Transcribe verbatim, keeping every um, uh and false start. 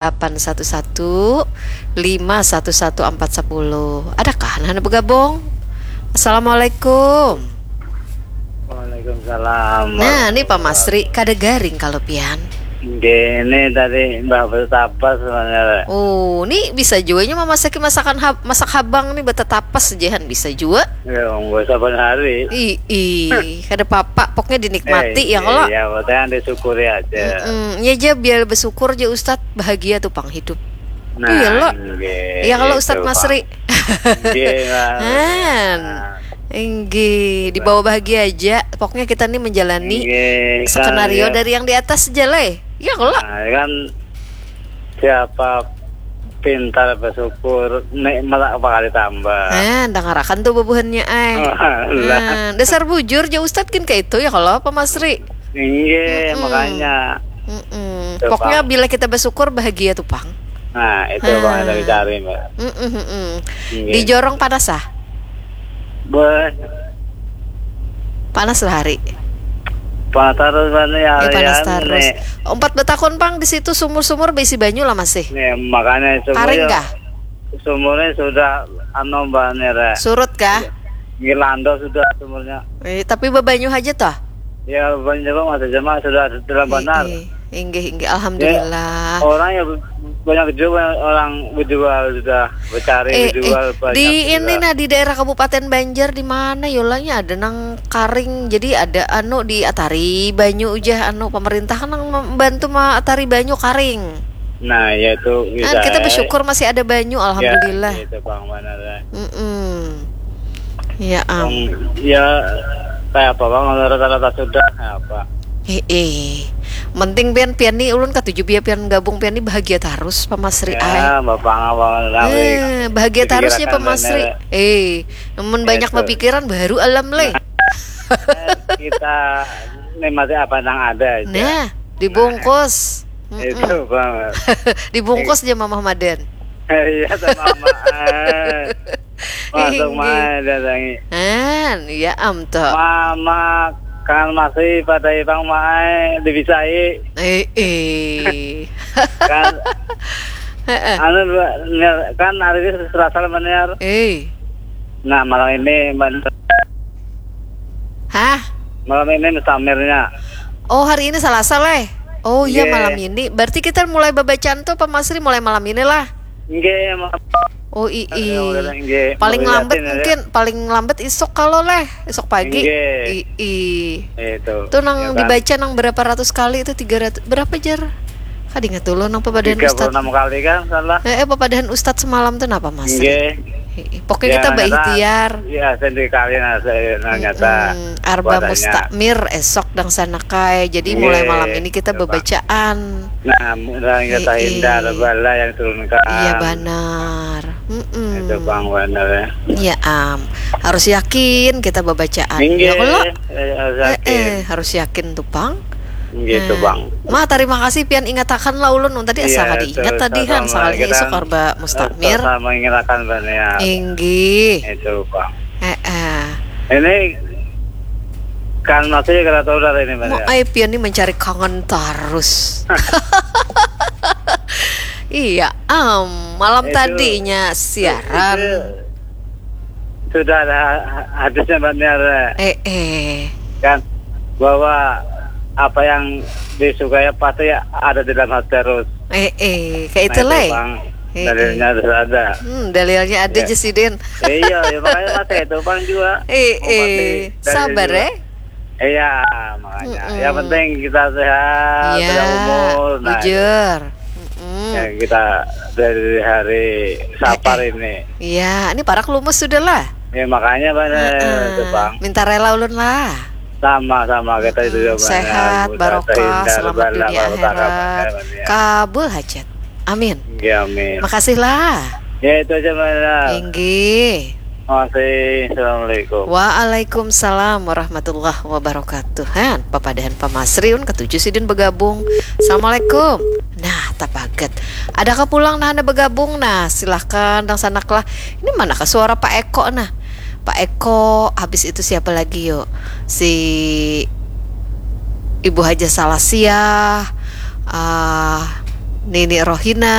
delapan satu satu lima satu satu empat sepuluh. Adakah nah, nah bergabung? Assalamualaikum. Waalaikumsalam. Nah, ini Pak Masri, kada garing kalau pian. Gini tadi Mbah bertapas sebenarnya. Oh, ini bisa juanya memasaki masakan hab, masak habang nih bertetapas jehan bisa juga. Ya, nggak saban hari. Ih, ih, kada apa-apa, pokoknya dinikmati eh, ya kalau. Iya, pokoknya disyukuri aja. Mm-mm. Ya aja biar bersyukur aja Ustadz, bahagia tuh pang hidup. Nah, iya lo. Ya kalau Ustadz Masri. Iya, nah. Enggih, dibawa bahagia aja. Pokoknya kita nih menjalani skenario kan, dari yang di atas aja lah. Ya kalau. Nah, kan siapa pintar bersyukur, nek malah bakal ditambah. Nah, dengarakan tuh bubuhannya ay. Nah, dasar bujur aja Ustadz kan kayak itu ya kalau apa Masri. Iya, makanya. Mm-mm. Pokoknya bila kita bersyukur bahagia tuh pang. Nah, itu nah. Bang yang dicari, Mbak. Mm-mm, mm-mm. Iya. Di jorong panas ah? Beh. Panas lah hari. Panas terus mana ya? Ya, panas terus. Empat betakun pang di situ sumur-sumur berisi banyu lah masih. Nih, makanya sumurnya, karing kah? Sumurnya sudah anu mbak nih re. Surut kah? Ngilando sudah sumurnya. Eh, tapi bebanyu aja toh? Ya, banyu masih jemaah sudah dalam benar. Inggih, inggih. Alhamdulillah. Ya, orang yang banyak juga orang berjual sudah, bercari eh, berjual eh, banyak di juga. Ini nah di daerah Kabupaten Banjar di mana yolanya ada nang karing. Jadi ada anu di atari banyu ujah anu pemerintah nang membantu ma atari banyu karing. Nah, ya itu bisa. Kan kita bersyukur masih ada banyu, alhamdulillah. Ya, itu bang mana lah. Mm-mm. Ya am. Ya kayak apa bang rata-rata sudah apa? Eh, eh. Penting pian pian nih ulun katuju biar pian gabung pian nih bahagia terus Pak Masri ya, ay. Bapak ngawal eh, bahagia terusnya Pak Masri. Eh, namun banyak berpikiran baru alam leh. Nah, kita nikmati apa yang ada aja. Nah, dibungkus. Nah, itu banget. Dibungkus aja Mamah Madan. Iya sama Mamah. Masuk mai datangi. An, ya am toh. Mama kan masih pada ibang mai dibisai. Eh, eh. Kan anu kan hari ini Selasa benar. Eh. Nah, malam ini benar. Hah? Malam ini mustamirnya. Oh, hari ini Selasa leh. Oh iya, malam ini. Berarti kita mulai babacaan tuh Pak Masri mulai malam ini lah. Nggih, malam. Oh, ii. Paling lambat mungkin, paling lambat isuk kalau leh, isuk pagi. Ii. Itu. Tuh nang dibaca nang berapa ratus kali itu tiga ratus berapa jar? Kada ingat dulu nang pepadahan Ustad. Tiga puluh enam kali kan salah. Eh, eh pepadahan Ustad semalam tuh napa Mas? Nggih. Pokoknya kita baikhtiar. Iya, sendiri kali nah saya nanya ta. Arba mustakmir esok dang sana kai. Jadi mulai malam ini kita bebacaan. Nah, mulai kita hindar bala yang turunkan. Iya banar. Mm-mm. Itu bang benar ya. Iya am. Harus yakin kita bebacaan. Ya kalau eh, harus yakin tuh pang. Gitu bang. Ma, terima kasih pian ingatakan lah ulun tadi asa kada ingat tadi han sakalinya isuk arba mustakmir. Sama ingatakan bang ya. Inggih. Itu bang. Eh, eh. Ini kan masih kada tahu dari ini bang. Mau ya. Ai pian nih mencari kangen terus. Iya, am malam itu, tadinya siaran. Itu, sudah ada hadisnya Mbak Niar. Eh, eh. Kan bahwa apa yang disukai pasti ada di dalam hati terus. Eh, eh, kayak itu lah. Dalilnya sudah ada. Hmm, dalilnya ada ya. Jesidin. Iya, ya, makanya mas itu bang juga. Eh, eh, sabar eh. Iya, makanya. Mm-mm. Yang penting kita sehat, ya, umur. Nah, bujur. Mm-mm. Ya, kita dari hari Sapar eh, eh. Ini. Iya, ini parak lumus sudah lah. Ya makanya mana uh-uh. Minta rela ulun lah. Sama-sama kita itu juga sehat, barokah, selamat dunia akhirat. Kabul hajat. Amin. Ya, amin. Makasih lah. Ya itu aja mana. Inggih. Makasih. Assalamualaikum. Waalaikumsalam warahmatullahi wabarakatuh. Han, papadahan Pak Masri un ketujuh sidin bergabung. Assalamualaikum. Nah, tapaget. Adakah pulang nah anda bergabung? Nah, silahkan dang sanak lah. Ini mana ke suara Pak Eko nah? Pak Eko, habis itu siapa lagi yuk? Si Ibu Haja Salasiah, uh, Nini Rohina,